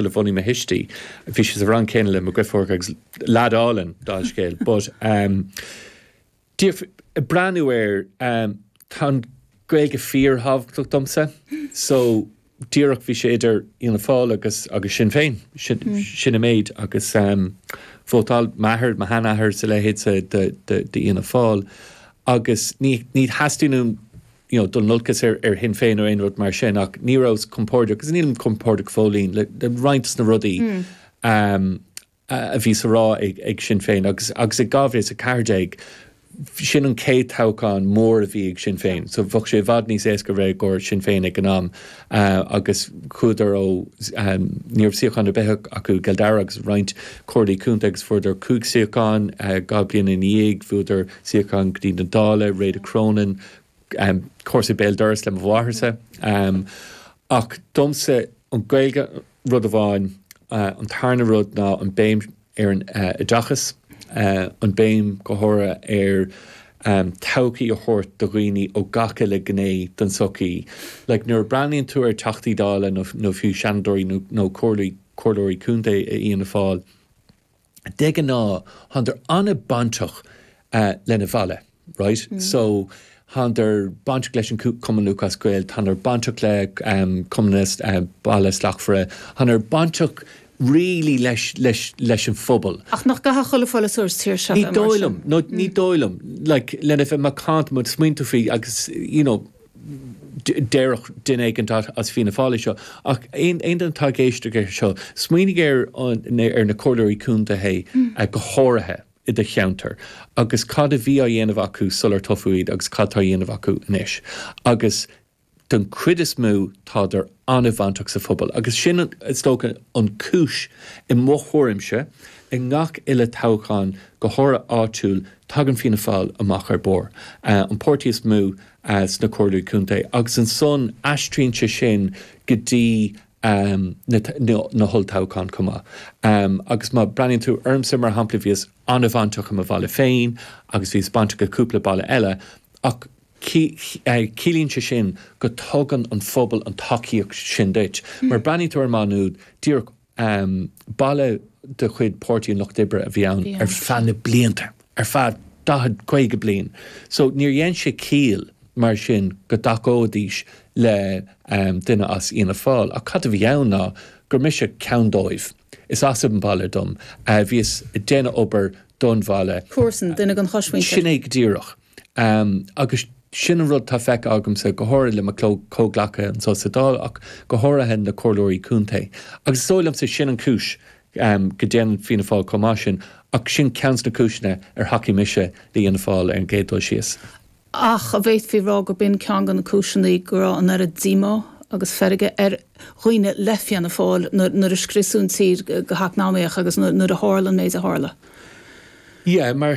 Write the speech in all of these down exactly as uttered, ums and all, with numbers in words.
a bhunaigh mo thuistí, bhí sé sa rang céanna le mo dheirfiúr agus leaid álainn dála an scéil, but um, breathnú air um, tá an Gaeilge fíorthábhachtach domsa, so díreach bhí sé idir Fhianna Fáil agus agus Sinn Féin sin, mm. sin an méid agus um, vótáil m'athair mo sheanathair sa leithéid de, de, de Fhianna Fáil agus ní, ní theastaíonn you know, dul in olcas ar, ar Shinn Féin nó aon rud mar sin ach ní rabhas compordach agus nílim compordach fóillín le, le roinnt na rudaí mm. um, a bhí á rá ag, ag Sinn Féin agus agus ag dhá mhíle is a ceathair déag sin an chéad toghchán mór a bhí ag Sinn Féin, so bheadh sé i bhfad níos éasca bheith i gcomhair Sinn Féin ag an am uh, agus chuadar ó um, ní raibh suíochán ar bith acu i gCill Dara agus roinnt comhairlí contae agus fuaireadar cúig suíochán uh, dhá bliain ina dhiaidh, bhuadar suíochán go dtí na Dála, Réada Cronin, um, comharsa béal dorais le mo mháthairsa. Um, ach domsa an Gaeilge rud amháin uh, an tarna rud ná an béim ar an uh, oideachas, uh, an béim go háirithe ar um, todhchaí a thabhairt do dhaoine ó gach uile gné den sochaí. Like, nuair a breathnaíonn tú ar Teachtaí Dála nó, nó fiú Seanadóirí nó, nó comhairleoirí contae i Fhianna Fáil, de ghnáth tánn an-bhainteach uh, lena bhaile, right? Mm. So tánn bainteach leis an Cumann Lúthchleas Gael, tánn bainteach le um, Cumann uh, Baile Slachtmhara, tánn bainteach really leis, leis, leis an phobal. Ach nach gcaithfidh chuile pholaiteoir sa tír seo Ní dóigh liom, no, ní dóigh liom, like, lena bheith macánta má smaoiníonn tú faoi agus you know, déarfadh duine éigin as Fianna Fáil seo ach aon duine atá ag éisteacht air seo smaoinigh ar ar na comhairleoirí contae mm. go háirithe i do cheantar agus cad a bhí á dhéanamh acu sular toghadh iad agus cad tá á dhéanamh acu anois agus den chuid is mó tádar an-bhainteach sa phobal agus sin is dócha an cúis i mo thuairimse i ngach uile toghchán go háirithe áitiúil tagann Fianna Fáil amach ar bord. Uh, an páirtí is mó uh, sna comhairlí contae agus ansan aistríonn sé sin go dtí um, na, na, na holltoghcháin chomh maith. Um, agus má breathnaíonn tú ormsa mar shampla bhíos an-bhainteach i mo bhaile féin agus bhíos bainteach i cúpla baile eile ach ciallaíonn sé sin go dtugann an phobal an tacaíocht sin duit. Mm. Mar breathnaíonn tú ar Má Nuad díreach um, baile de chuid Páirtí an Lucht Oibre a bhí ann ar feadh na blianta, ar feadh daichead caoga bliain. So níor dhein sé ciall mar sin go dtacóidís le um, duine as Fhianna Fáil. Ach cad a bhí ann ná gur mise ceann dóibh. Is as an baile dom. Uh, bhíos ag déanamh obair don bhaile. Comharsan duine den chosmhuintir. Sin é go díreach. Um, agus sin an rud tá feicthe agamsa go háirithe le mo chomhghleacaithe anseo sa Dáil ach go háirithe na comhairleoirí contae. Agus is dóigh liomsa sin an cúis um, go ndéanann Fianna Fáil chomh maith sin ach sin ceann de na cúiseanna ar thacaigh mise le Fianna Fáil ar an gcéad dul síos. Ach an bhféadfaí rá gurb in ceann de na cúiseanna go raibh an oiread díomá agus feirge ar dhaoine le Fianna Fáil nuair a scriosadh an tír go heacnamaíoch agus nuair a tharla an méid a tharla. Yeah, mar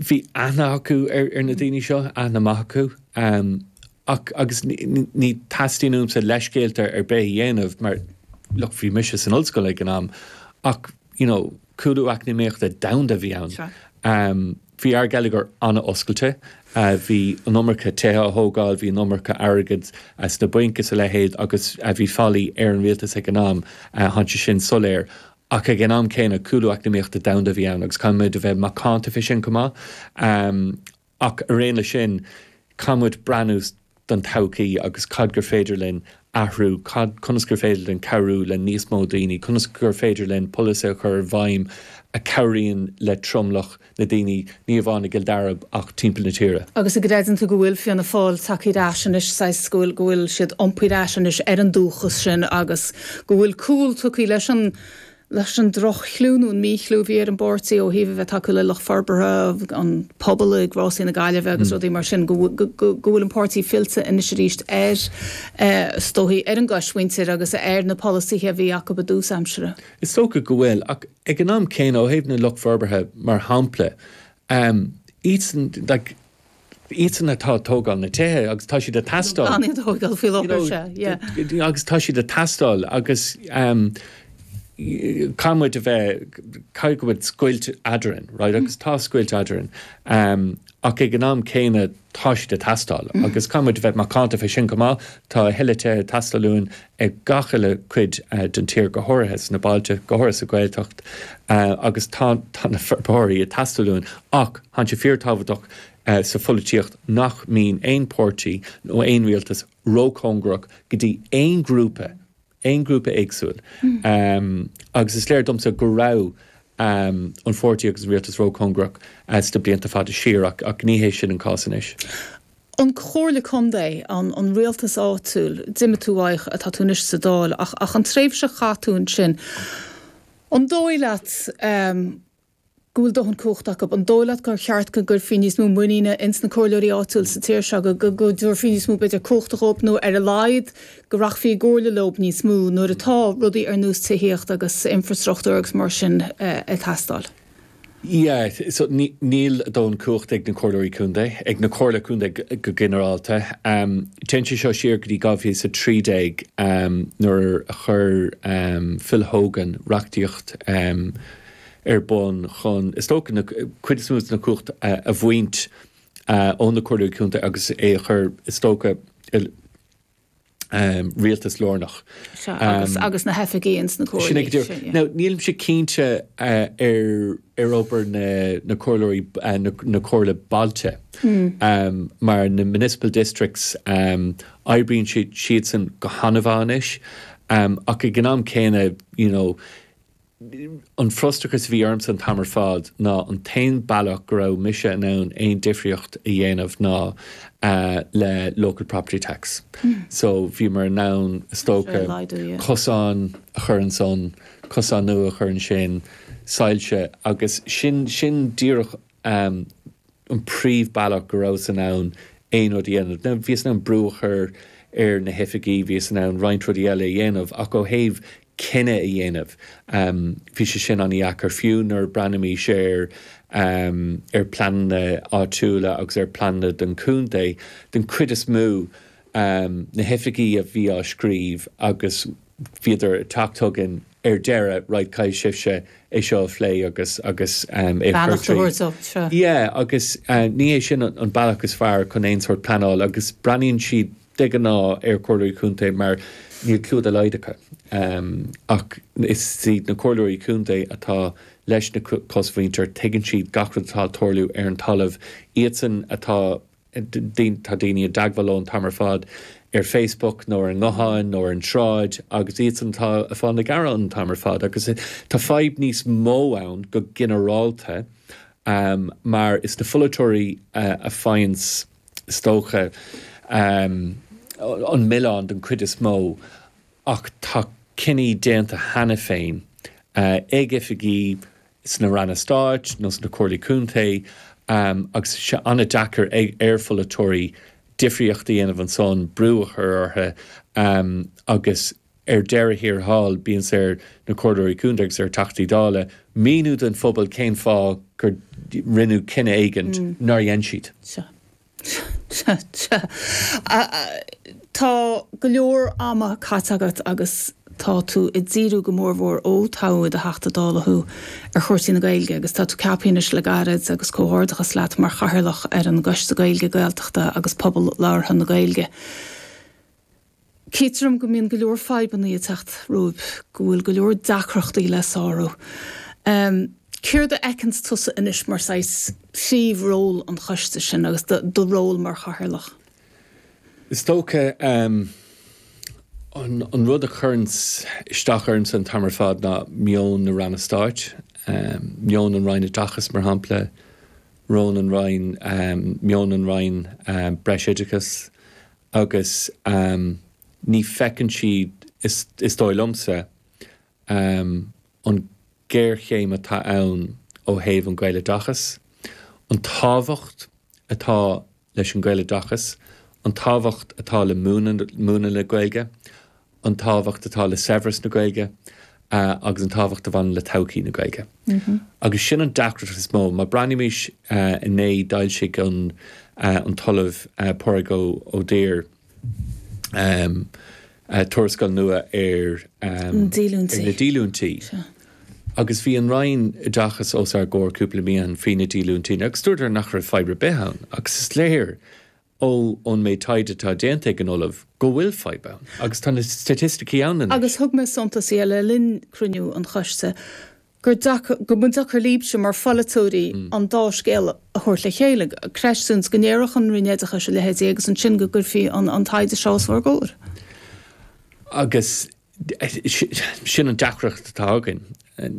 bhí aithne acu ar, ar na daoine seo aithne maith acu um, ach agus ní teastaíonn uaimse leithscéalta ar bith a dhéanamh mar look bhí mise san ollscoil ag an am ach you know, cúlú eacnamaíochta domhanda a bhí ann. Um, bhí ár ngeilleagar an-oscailte, uh, bhí an iomarca tithe á thógáil, bhí an iomarca airgead uh, sna bainc is a leithéid agus uh, bhí faillí ar an rialtas ag an am uh, tá sé sin soiléir. Ach ag an am céanna cúlú eacnamaíochta domhanda a bhí ann agus caithfimid a bheith macánta faoi sin chomh maith. Um, ach ar aon le sin caithfimid breathnú don todhchaí agus cad gur féidir linn athrú, cad conas gur féidir linn cabhrú le níos mó daoine, conas gur féidir linn polasaithe a chur i bhfeidhm a chabhraíonn le tromlach na daoine ní amháin i gCill Dara ach timpeall na tíre. Agus an gcreideann tú go bhfuil Fianna Fáil tagtha ar ais anois saghas go bhfuil go bhfuil siad iompaithe ar ais anois ar an dúchas sin agus go bhfuil cúl tugtha leis an leis an droch-chlú nó an míchlú a bhí ar an bpáirtí ó thaobh a bheith tacú le lucht forbartha an pobal ag Rásaí na Gaillimhe agus mm. rudaí mar sin go bhfuil an páirtí fillte anois arís ar eh, is dóichí ar an gcosmhuintir agus ar na polasaithe a bhí acu i dtús aimsire. Is dócha go bhfuil ach ag an am céanna ó thaobh na lucht forbartha mar shampla um, iadsan like, iadsan atá ag tógáil na tithe agus tá siad ag teastáil. tógáil faoi láthair. Agus tá siad ag teastáil agus um, Caithfidh muid a bheith, caithfidh go bhfuil scoilt eadrainn, right, agus tá scoilt eadrainn, um, ach ag an am céanna tá siad ag teastáil, mm. agus caithfidh muid a bheith macánta fé sin go maith, tá a thuilleadh tithe ag teastáil uainn ag gach uile cuid uh, den tír go háirithe sna bailte, go háirithe sa Ghaeltacht, uh, agus tá, tá na forbróirí ag teastáil uainn, ach tá sé fíorthábhachtach uh, sa pholaitíocht nach mbíonn aon pháirtí nó aon rialtas róchóngarach go dtí aon grúpa aon grúpa éagsúil. Mm. Um, agus is léir domsa go raibh um, an pháirtí agus an rialtas róchóngarach uh, sna blianta fada siar ach, ach ní hé sin an cás anois. An Chomhairle Contae an, an rialtas áitiúil, d'imigh tú uaidh tá tú anois sa Dáil ach, ach an tréimhse a chaith tú ansin. An dóigh leat um, go bhfuil dóthain cumhacht acu, an dóigh leat gur cheart go gcuirfí níos mó muiníne ins na comhairleoirí áitiúil sa tír seo, go go dtabharfaí níos mó b'fhéidir cumhachta dhóibh nó ar a laghad go rachfaí i gcomhairle leo níos mó nuair atá rudaí ar nós tithíocht agus infrastruchtúr agus mar sin ag teastáil. Yeah, so níl dóthain cumhacht ag na comhairleoirí contae, ag na comhairle contae go ginearálta. Um, Téann sé seo siar go dtí dhá mhíle is a trí déag um, nuair a chuir um, Phil Hogan reachtaíocht um, ar bun chun is dócha na cuid is mó na cumhacht uh, a bhaint uh, ó na comhairleoirí contae agus é a chur is dócha um, rialtas lárnach. Sea, agus, um, agus na hoifigí ins na comhairlí. Now, nílimse cinnte uh, ar ar obair na, na comhairleoirí uh, na, na comhairle bailte mm. um, mar na municipal districts um, oibríonn siad siadsan go han-mhaith anois um, ach ag an am céanna you know, an frustrachas a bhí ormsa an t-am ar fad ná an t-aon bealach go raibh mise in ann aon difríocht a dhéanamh ná uh, le local property tax. Mm. So bhíomar in ann is dócha cosán a chur ansan, cosán nua a chur ansin, soilse agus sin sin díreach um, an príomhbealach go rabhas in ann aon rud a dhéanamh. Now, bhíos in ann brú a chur ar na hoifigí, bhíos in ann roinnt rudaí eile a dhéanamh ach ó thaobh cinneadh a dhéanamh. Um, bhí sé sin an-deacair fiú nuair breathnaímis ar um, ar pleananna áitiúla agus ar pleananna don chontae den chuid is mó um, na hoifigí a bhí á scríobh agus bhíodar ag teacht chugainn ar deireadh right caithfidh sibhse é seo a phlé agus agus um, é chur Yeah, agus uh, ní hé sin an, an bealach is fearr chun aon sórt pleanáil agus breathnaíonn siad de ghnáth ar comhairleoirí contae mar níl clue dá laghad acu. Um, ach is iad na comhairleoirí contae atá leis na cosmhuintir tuigeann siad gach rud atá ag tarlú ar an talamh iadsan atá tá daoine i dteagmháil leo an t-am ar fad ar Facebook nó ar an nguthán nó ar an tsráid agus iadsan atá ag fáil na gearán an t-am ar fad agus tá fadhb níos mó ann go ginearálta um, mar is na pholaiteoirí uh, a fhaigheann is dócha um, an milleán den chuid is mó ach tá cinní déanta cheana féin uh, ag oifigí sna ranna stáit nó sna comhairlí contae um, agus sé an-deacair ag ar pholaiteoirí difríocht a dhéanamh ansan brú a chur orthu um, agus ar deireadh thiar thall bíonn sé ar na comhairleoirí contae agus ar Theachtaí Dála míniú don phobal cén fáth gur rinneadh cinneadh éigin mm. nár dhein siad. Sea. Tá go leor ama caite agat agus tá tú ag díriú go mórmhór ó toghadh i do Theachta Dála thú ar chúrsaí na Gaeilge agus tá tú ceaptha anois le gairid agus comhghairdeachas leat mar chathaoirleach ar an gCoiste Gaeilge Gaeltachta agus Pobal Labhartha na Gaeilge. Cítear dom go mbíonn go leor fadhbanna ag teacht romhaibh, go bhfuil go leor deacrachtaí le sárú. Céard a fheiceanns tusa anois mar saghas príomhról an choiste sin agus do ról mar chathaoirleach? Is dócha um, an, an rud a chuireann isteach ormsa an t-am ar fad ná meon na ranna stáit, um, meon an Roinn Oideachais mar shampla, rón an Roinn, um, meon an Roinn um, Breisoideachais agus um, ní feiceann siad is, is dóigh liomsa um, an géarchéim atá ann ó thaobh an Ghaeloideachas, an tábhacht atá leis an Ghaeloideachas, an tábhacht atá le múineadh na Gaeilge, an tábhacht atá le saibhreas na Gaeilge uh, agus an tábhacht a bhaineann le todhchaí na Gaeilge. Mm -hmm. Agus sin an deacracht is mó, má breathnaímis uh, inné d'fhoilsigh an, uh, an tOllamh uh, Pádraig Ó Duibhir um, tuarascáil nua ar um, na díolúintí. Agus bhí an Roinn Oideachais os ár gcomhair cúpla mí ó shin faoi na díolúintí, agus dúradar nach raibh fadhb ar bith ann, agus is léir ó ón méid taighde atá déanta ag an Ollamh go bhfuil fadhb ann, agus tá na staitisticí ann. Agus thug mé suntas le linn cruinniú an choiste gur go mba deacair libhse mar pholaiteoirí mm. an dá scéal a thabhairt le chéile, creidiúint go ndéarfadh an Roinn Oideachais a leithéidí agus ansin go gcuirfí an, an taighde seo os bhur gcomhair. Agus sin an deacracht atá againn.